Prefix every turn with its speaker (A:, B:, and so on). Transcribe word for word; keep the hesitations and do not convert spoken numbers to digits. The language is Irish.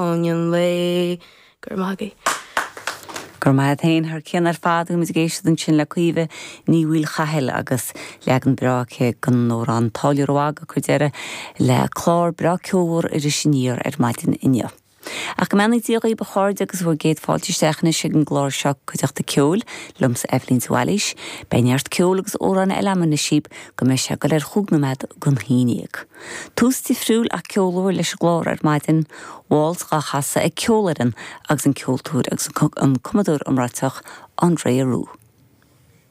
A: fáinne an lae gur magadh.
B: Gur mai féin thar cén ar fad muid ag éisteacht ansin le Caoimhe Ní Mhaolchathail agus leagan breá aici den amhrán Táilliúir Ó Aga ag cur deireadh le clár breá ceolmhar Iris Aniar ar maidin inniu. Ach go mbeannaí Dia dhaoibh a chairde agus bhur gcéad fáilte isteach anois ag an gclár seo Cuideachta Ceoil liomsa Eibhlín de Bhailís, Beidh neart ceoil agus amhráin eile agam anois go mbeidh sé go leir chúig nóiméad don haon déag. Tús difriúil ach ceolmhar leis an gclár ar maidin, Waltz á chasadh ag ceolfhoireann agus an ceoltóir agus an cumadóir iomráiteach André Rieu.